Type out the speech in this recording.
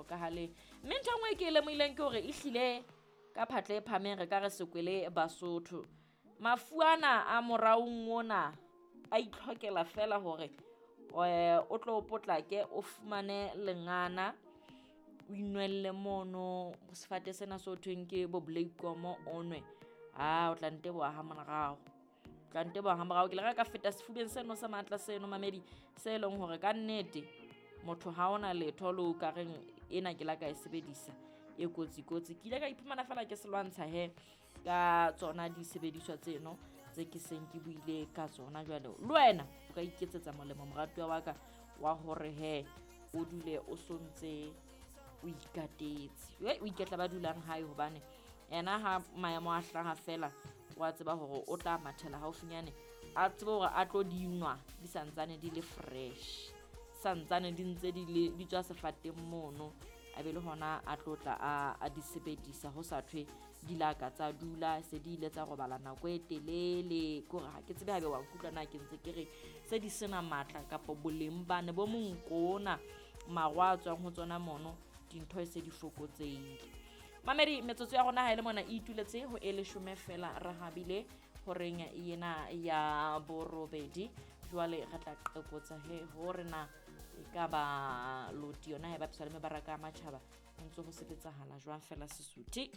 hlokahaleng. Mme ntho e nngwe e ke e lemohileng ke hore ehlile ka phatla e phahameng re ka re sekwele Basotho. Mafu ana a moraong ona a itlhokela fela hore o tlo potlake o fumane lengana, o inwelle mono sefate sena se ho thweng ke bo bleikomo o nwe. Ah, o tla nteboha ha morao. Tla nteboha ha morao. Ke le ra ka feta sefubeng seno sa matla seno mamedi se leng hore ka nnete motho ha ona letho le o ka reng ena ke la ka e sebedisa e kotsi kotsi. Ke ile ka iphumana fela ke se lwantsha he ka tsona disebediswa tseno tse ke seng ke buile ka tsona. Jwale le wena o ka iketsetsa molemo moratuwa wa ka wa hore he o dule o sontse o ikatetse. O iketla ba dulang hae hobane ena ha maemo a hlaha fela wa tseba hore o tla mathela haufinyane a tsebe hore a tlo dinwa di santsane di le fresh, santsane di ntse di le di tswa sefateng mono, a be le hona a tlo tla a di sebedisa ho sa thwe di la ka tsa dula se di ile tsa robala nako e telele. Ke hore ha ke tsebe haebe wa nkutlwa na ke ntse ke re se di sena matla kapa boleng bane bo monkona maro a tswang ho tsona mono, dintho e se di fokotsehile. Mamedi, metsotso ya rona ha e le mona e ituletse ho e leshome fela re habile horeng ena ya borobedi. Jwale re tla qekotsa he hore na e ka ba loti yona ha e bapiswa le mebaraka ya matjhaba ho ntse ho sebetsahala jwang fela Sesotho.